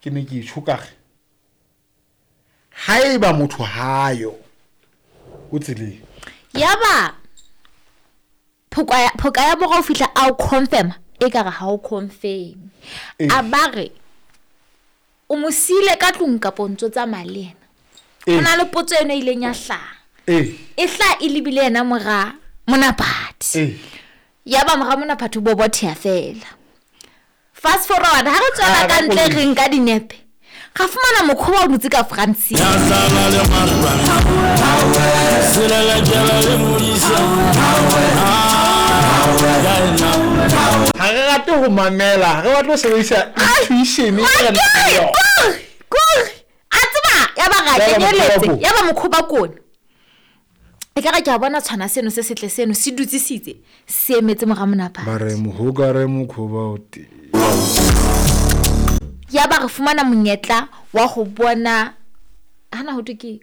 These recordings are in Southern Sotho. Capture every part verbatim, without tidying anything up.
Ke ne ke tjho ka re haeba motho hayo o tseleng. Yaba phoka ya phoka ya mora o fihla a o confirm e ka re ha o confirm. A ba re o mo siile ka tlung kapo ntso tsamaya le yena. Ho na le potso eno e ileng ya hlaha. E hlaha e lebile yena mora Monaphathi. Yaba mora Monaphathi o bobotheha fela. Fast forward ha re tswela ka ntle re nka dinepe. Ra fumana mokhoba o dutse ka Francine. Ha re rate ho mamela, re batla ho sebedisa intuition e re nang le yona. Kore a tseba ya ba ra kenyeletse ya ba mokhoba kone. E ka re ke a bona tshwana seno se setle seno se dutsisitse se emetse mora Monaphathi. Ba re mohoka re mokhoba o teng. Ya ba re fumana monyetla wa ho bona hana ho thwe ke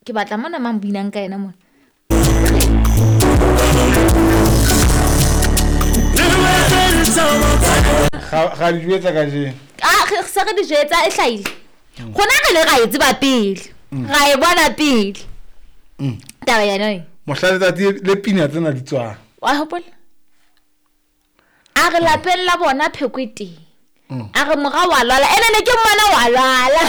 ke batla mona mang binang ka yena mona. Ga di jwetsa ka jeno. Ah re se re di jwetsa e hlahile. Rona re le ra e tseba pele. Ra e bona pele. Taba ya noi. Mohla letsatsi le pina tsena di tswang. Wa hopola? A re lapeng la bona pheko e teng. A re mora wa lwala ene ne ke mmona wa lwala.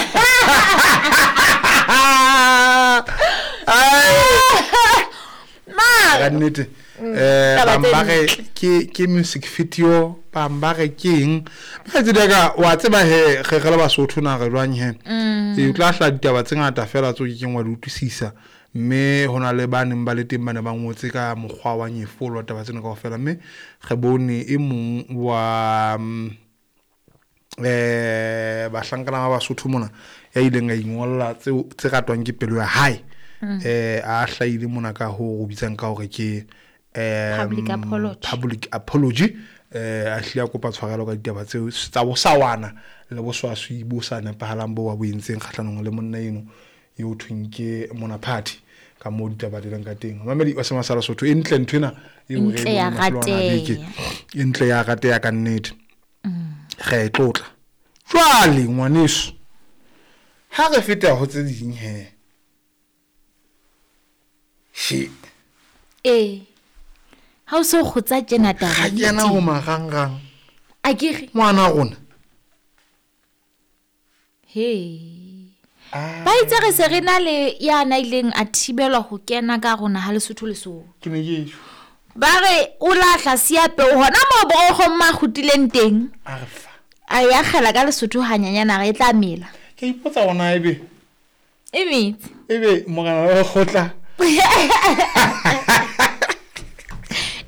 Ma ka nnete eh bang ba re ke ke music video bang ba re ke eng ba tseda ka wa tseba he re re le Basotho na re jwang he e o tla hla ditaba tse ngata fela tso ke keng wa di utlwisisa mme hona le ba neng ba le teng ba ne ba ngotse ka mokgwa wa nyefolo taba tsena kaofela mme re bone e mong wa eh bahlankana ba Basotho mona ya ileng a ingolla tse tse ratwang ke pelo ya hae eh a hlahile mona ka ho bitsang ka hore ke eh public apology public apology eh a hlile a kopa tshwarelo ka ditaba tseo tsa bosawana le boswaswi bo sa nepahalang bo ba bo entseng kgahlanong le monna eno eo thweng ke Monaphathi ka moo ditaba di leng ka teng. Mamedi wa Sema sa Lesotho e ntle ntho ena eo re ya rateya e ntle ya rateya ka nnete. Re e tlotla jwale ngwaneso ha re feta ho tse ding he she eh ha o so kgotsa tjena taba ha kena ho marangrang a ke re ngwana rona he ba itse re se re na le ya na ileng a thibelwa ho kena ka rona ha Lesotho Lesotho ke ne ke ba re o lahla siape hona mo borogo ma kgutileng teng a re fa a ya kgela ka Lesotho hanyanyana re tla mela ke ipotsa ona ebe e metsi ebe morena wa kgotla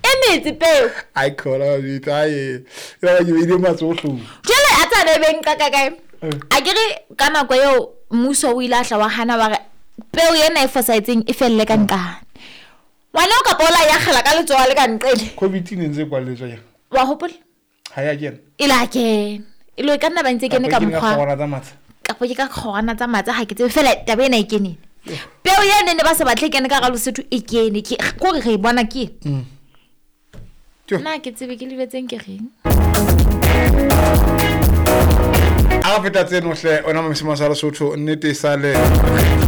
e metsi peo ai khola bitsa e ya ke ile matsoho jele a tsa be beng ka ka kae a ke re ka nako eo mmuso o ile a hla wa hana ba re peo ena e fosahetseng e felle ka nqane ngwana o ka pola ya kgela ka letsoho le ka nqele covid ne ntse kwalletswa ya wa hopola ha ya kena e la kena e lo ka nna ba ntse kene ka mokgwa kapo ke ka kgorwana tsa matsa ha ke tsebe fela taba ena e kenene peo ene ne ba sa batle kene ka ga Lesotho e kene ke gore re e bona ke nna ke tsebe ke lebetseng ke reng a feta tseno hle ona mamesema sa Lesotho nnete e sale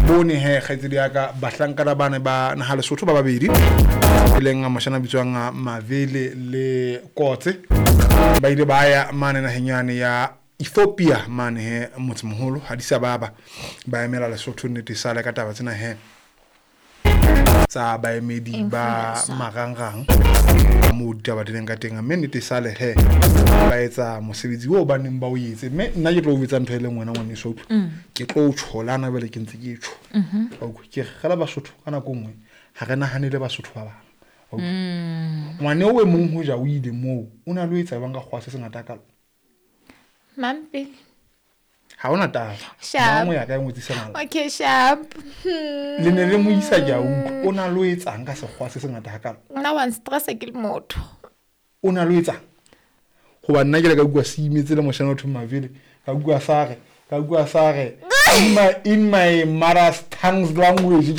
bone he kgaitsedi ya ka bahlankana ba ne ba naha Lesotho ba babedi e leng moshana bitswang Mavele le Kotse ba ile ba ya mane naheng yane ya Ethiopia mane he motsemoholo Addis Ababa ba emela Lesotho nnete e sale ka taba tsena he tsa baemedi ba marangrang mo ditaba di leng ka teng mme nnete e sale he ba etsa mosebetsi oo ba neng ba o etse mme nna ke tlo o etsa ntho e leng wena ngwaneso ke tlo o tsholana bele ke ntse ke tjho ke re Basotho ka nako nngwe ha re nahanele Basotho ba bang ngwane o e mong ho ja o ile moo o na lo etsa bang ka kgwa se sengata kalo mampele ha ona taba Sharp. Mangwe ya ka e ngwetsisa mala Okay sharp. Le ne le mo isa ke a utlwa o na lo etsang ka sekgwa se sengata hakalo Nna wa stress ke le motho. O na lo etsang hoba nna ke le ka bua se imetse le moshana o thong Mavele ka bua sa re ka bua sa re in my in my mother's tongue's language